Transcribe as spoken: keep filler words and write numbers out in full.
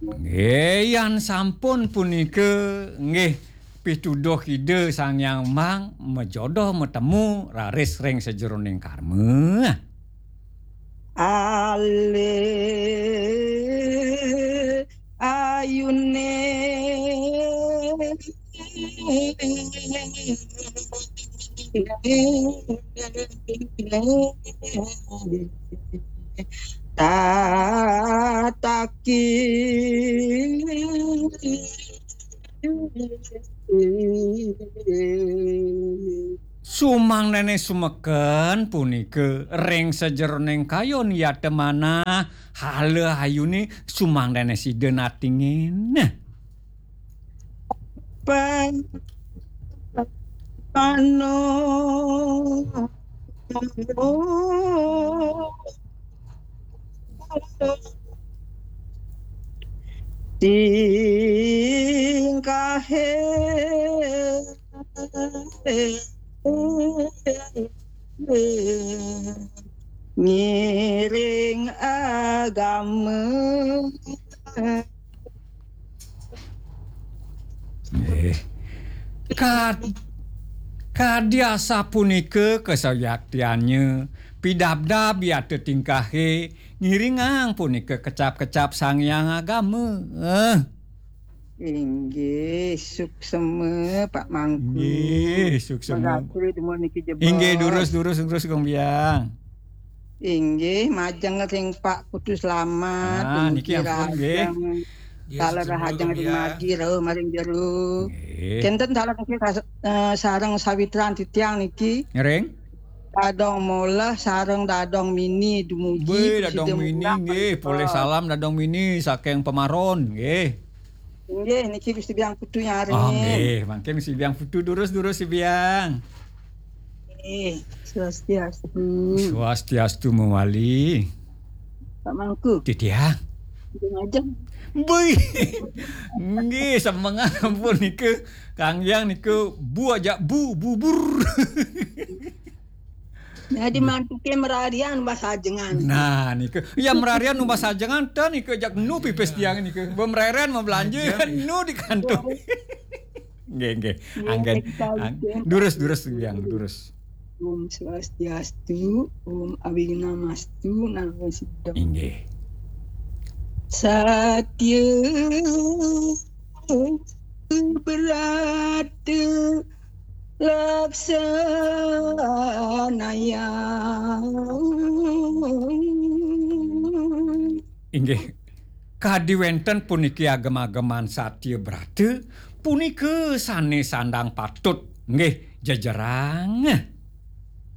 Nggih, yan sampun punika, nggih, pituduh Ida Sang Hyang Mang, majodoh matemu raris ring sajeroning karma. Alih ayune tataki. Sumangdene sumeken punika ring sajeroning kayun yata manah, hala ayune sumangdene sida natingin. Pano tingkahe ngiring agama. Nggih. Kad-, kadi asapunika kasayaktiannya, pidabdab yata tingkahe, ngiringang punika kecap-kecap Sang Hyang Agama. Eh. Inggih, suksema, Pak Mangku. Inggih, suksema. Makasih, dumun niki jebos. Inggih, durus, durus, durus, Gong Biang. Inggih, majeng ring Pak Putu Slamet, ah, niki niki ampun, nggih. Rahajeng. Nggih, taler suksema, rahajeng Gong Biang. Ring margi, rauh maring jero. Nggih. Kenten taler niki ras-, eh, sareng sawitran titiang niki. Ngiring? Dadong Moleh sareng Dadong Mini dumugi. Wih, Presiden Dadong Mini, Mulang, nggih, Pak. Polih salam Dadong Mini saking Pemaron, nggih. Inggih, niki Gusti Biang Putu nyaringin. Oh, nggih, mangkin Gusti Biang Putu durus-durus Gusti Biang. Nggih, swastiastu. Swastiastu mawali. Pak Mangku. Titiang. Nggih, ngajeng. Bui. Nggih, semengan ampun nika. Kang Yang nika bu aja bu, bubur. Jadi mantuke merarian umbas ajengan. Nah, nika. Ya merarian umbas ajengan, ten nika jak nu pipis tiang nika. Ba merarian mau belanja, nu di kantor. Nggih, nggih. Nggih, anggen. Kita ang-, bikin. Durus, durus, Yang, durus. Om Swastiastu, Om Awighnamastu, Namo Siddham. Inggih. Satya berata laksanaya. Inggih, kadi wenten puniki agem-ageman satya brata, punika sane sandang patut, nggih, jejerang.